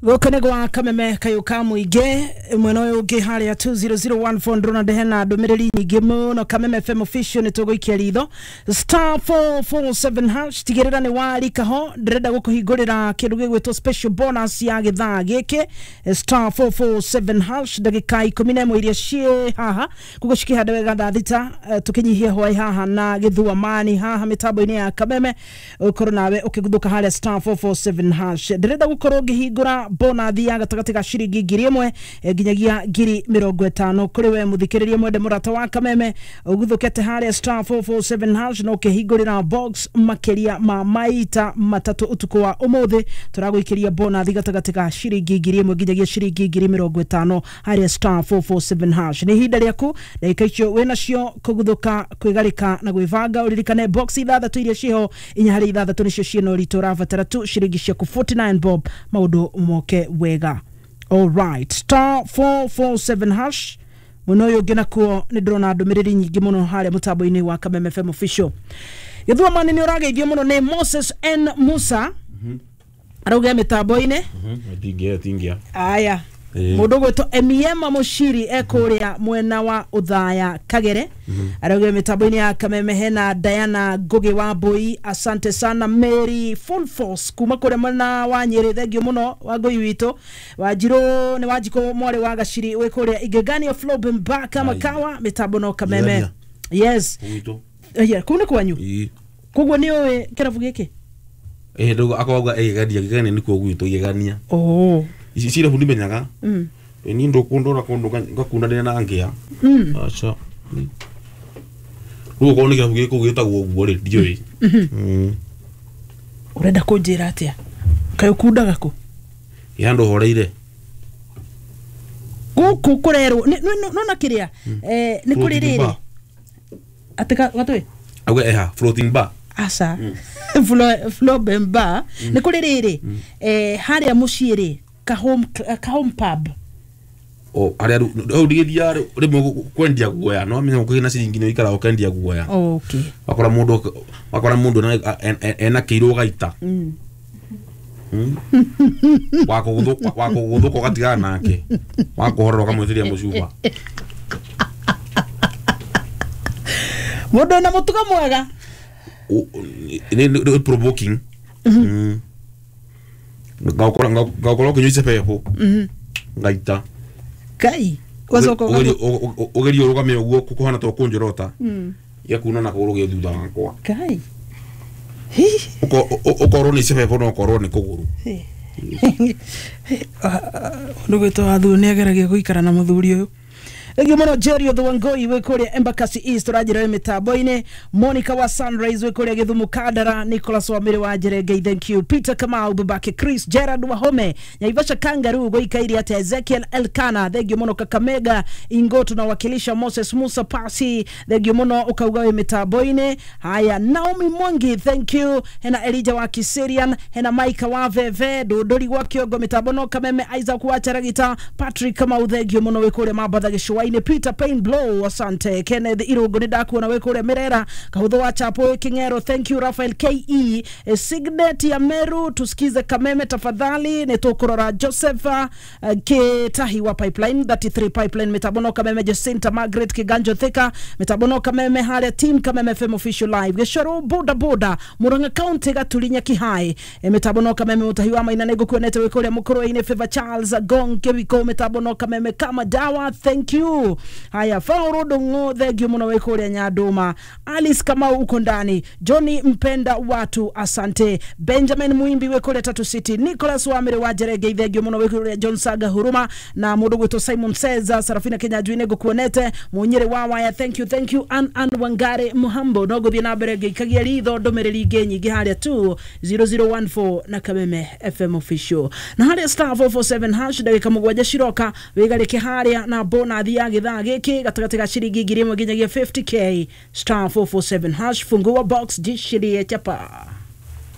Gũkũ nĩ gwa Kameme kayũ ka mũingĩ. Mwena ũyũ ũngĩ harĩa 20014 ndĩrona ndehena ndũmĩrĩri nyingĩ mũno. Kameme FM official nĩ tũgũikia ritho *447#. Tigĩrĩra nĩ warika ho, ndĩrenda gũkũhingũrĩra kĩndũ gĩgwĩtwo special bonus ya gĩthaa gĩkĩ *447# ndagĩka 11 iria ciĩ haha koguo cikĩhanda wega thaa 6, tũkĩnyihie hwaĩ haha na gĩthuamani haha mĩtambo-inĩ ya Kameme, ũkorwo nawe ũkĩguthũka harĩa *447#. Ndĩrenda gũkorwo ngĩhingũra bonathi ya gatagatĩ ga ciringi 1,000 nginyagia 50,000 kũrĩ we mũthikĩrĩria mwende mũrata wa Kameme ũguthũkĩte harĩa *447# na ũkĩhingũrĩra box makĩria ma maita matatũ ũtukũ wa ũmũthĩ. Tũragũikĩria bonathi gatagatĩ ga ciringi 1,000 nginyagia ciringi 50,000 harĩa *447#. Nĩ ihinda rĩaku, ndagĩka icio wĩnacio kũguthũka, kwĩgarĩka na gwĩbanga. Ũririkane box ithathatũ iria ciho, inya harĩ ithathatũ nĩcio ciĩna ũritũ, ũrabatara tu ciringi ciaku 49 bob, maũndũ moke wega. Alright, *447#. Mwena ũyũ ũngĩ nakuo nĩ ndĩrona ndũmĩrĩri nyingĩ mũno harĩa mũtambo-inĩ wa Kameme FM official. Gĩthuamani nĩ ũrageithio mũno nĩ Moses N Musa, arauga mĩtambo-inĩ. Tingia tingia. Aya, mũndũ ũgwĩtwo Emiema Mũciri ekũrĩa mwena wa Ũthaya Kagere, arauga mĩtambo-inĩ ya Kameme. Hena Diana Ngugi wa Mbui, asante sana. Mary Full Force kuma kũrĩa mwena wa Nyĩrĩ, thengio mũno wa ngũi witũ. Wanjirũ nĩ Wanjikũ mwarĩ wa Gaciri wĩ kũrĩa Igegania Flobenbaka Makawa, mĩtambo no Kameme. Yes. Gwitũ. Yeah, kũu nĩ kwanyu? Ĩĩ. Koguo nĩ ũĩ kĩrabu gĩkĩ? Ĩĩ, ndauga akauga igegania, igegania nĩkuo gwitũ igegania. Oh. Ici cirabu ndimenyaga. Niĩ ndũkũndora kũndũ ngakundanĩra na ngĩa. Aca. Rĩu okorwo nĩ kĩrabu gĩkũ gĩtagwo ũguo rĩ, ndiũĩ. Ũrenda kũnjĩra atĩa? Kaĩ ũkundaga kũ? Ĩ handũ horeire. Gũkũ kũrerwo nona kĩrĩa nĩ kũrĩ Floating rĩrĩ bar. Atĩ gatũĩ? Auga eha floating bar. Aca, Flobemba nĩ kũrĩ rĩrĩ harĩa mũciĩ rĩ, ka home pub. O harĩa rĩu hau ndigĩthiaga rĩmwe kwendia guoya, no amenya ũkĩgĩa na ciringi nĩ ũikaraga ũkendia guoya. Okay. Wakora mũndũ ena kĩirũ gaita. Wakũgũthũka ũgatigana nake, wakũhorera ũkamwĩtĩria mũcuba. Mũndũ wĩna mũtugo mwega. Nĩ provoking. Ngakora ũkĩnyua icebebo ngaita. Kai ũgacoka Ũgerie ũrũgame ũguo kũhana ta ũkũnjorota, gĩakuna na kũgũrũ gĩ thutha wakwa. Kai. Hi. Ũkorwo nĩ icebebo no ũkorwo nĩ kũgũrũ. Ũndũ gwĩtwo wathu nĩ ageragia gũikara na mũthuri ũyũ. Thengiũ mũno Jerry Othwangoi wĩ kũrĩa Embakasi East, ũranjĩra wĩ mĩtambo-inĩ. Monica wa Sunrise wĩ kũrĩa Gĩthumo Kandara, Nicholas wa Mĩrĩ wa Njerengei, thank you. Peter Kamau, babake Chris Gerard Wahome, Naivasha Kangaroo gũikaire atĩa. Ezekiel Elkana, thengiũ mũno. Kakamega Ingo tunawakilisha. Moses Musa Pasi, thengiũ mũno ũkauga wĩ mĩtambo-inĩ. Haya, Naomi Mwangi, thank you. Hena Elijah wa Kiserian, hena Maika wa Veve Ndũndũri gwa Kĩongo, mĩtambo no Kameme. Isaac wa Charagita, Patrick Kamau, thengio mũno wĩ kũrĩa Mambatha Gĩcũa-inĩ. Peter Pain Blow, asante. Kenneth Irũngũ nĩ ndakuona wĩ kũrĩa Mĩrera. Kahũthũ wa Chapo wĩ Kĩng'ero, thank you. Rafael Ke Signet ya Meru, tusikize Kameme tafadhali, nĩ tũkũrora. Joseph Kitahi wa Pipeline 33 Pipeline, mĩtambo no Kameme. Jacinta Margaret Kiganjo Thika, mĩtambo no Kameme harĩa team Kameme FM official live. Gĩcoro boda boda Murang'a County Gaturinya Kihai, mĩtambo no Kameme. Mũtahi wa Maina nĩ ngũkuonete wĩ kũrĩa Mũkũrwe-inĩ. Favor Charles Gong Kĩwiko, mĩtambo no Kameme kama dawa, thank you. Haya, Fauro Ndung'u, thengio mũno wĩ kũrĩa Nyandũma. Alice Kamau uko ndani. Johnny Mpenda watu, asante. Benjamin Muimbi wĩ kũrĩa Tatu City. Nicholas Wamire wa Njerenge, thengio mũno wĩ kũrĩa John Saga Huruma, na mũndũ gwĩtwo Simon Seza Sarafina Kenya Njui ngũkuonete. Mũnyĩrĩ wa Waya, thank you, thank you. Ann Ann Wangari Muhambo, no ngũthiĩ na mbere ngĩikagia ritho ndũmĩrĩri ingĩ nyingĩ harĩa 20014 na Kameme FM official na harĩa *447# ndagĩka 7 ciroka wĩgarĩke harĩa na bonathi ya gĩthaa gĩkĩ gatagatĩ ga ciringi 1,000 nginyagia 50K *447# fungua box jishirie chapa.